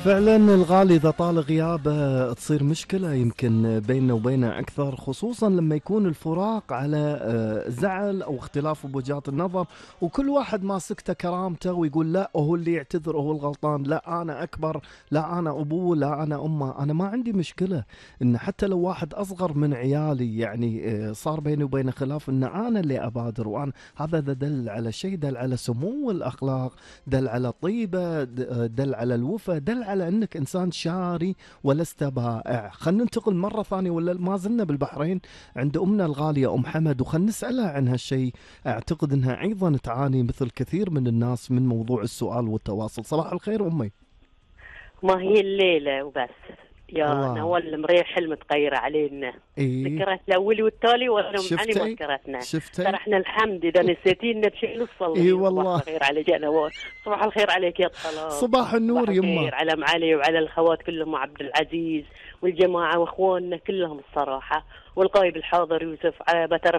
فعلا الغالي إذا طال غيابه تصير مشكلة يمكن بيننا وبينه أكثر، خصوصا لما يكون الفراق على زعل أو اختلاف بوجهات النظر، وكل واحد ماسكته كرامته ويقول لا هو اللي يعتذر هو الغلطان، لا أنا أكبر، لا أنا أبوه، لا أنا أمه. أنا ما عندي مشكلة إن حتى لو واحد أصغر من عيالي يعني صار بيني وبينه خلاف، إن أنا اللي أبادر، وأنا هذا دل على شيء، دل على سمو الأخلاق، دل على طيبة، دل على الوفا، دل على أنك إنسان شاري ولست بائع. خلينا ننتقل مرة ثانية، ولا ما زلنا بالبحرين عند أمنا الغالية أم حمد، وخلنا نسألها عن هالشيء. أعتقد أنها أيضا تعاني مثل كثير من الناس من موضوع السؤال والتواصل. صباح الخير أمي. ما هي الليلة وبس يا الله. نوال المريح المتغيرة علينا. إيه. ذكرت الأول والتالي وأنا يعني ما شفتي ذكرتنا. شفتي. احنا الحمد إذا نسيتينا بشيء إيه نصلي. صباح والله. الخير عليك يا نوال، صباح الخير عليك يا طلال، صباح صباح النور يما. الخير على ام علي وعلى الخوات كلهم، عبد العزيز والجماعة واخواننا كلهم الصراحة، والغايب الحاضر يوسف، بعترف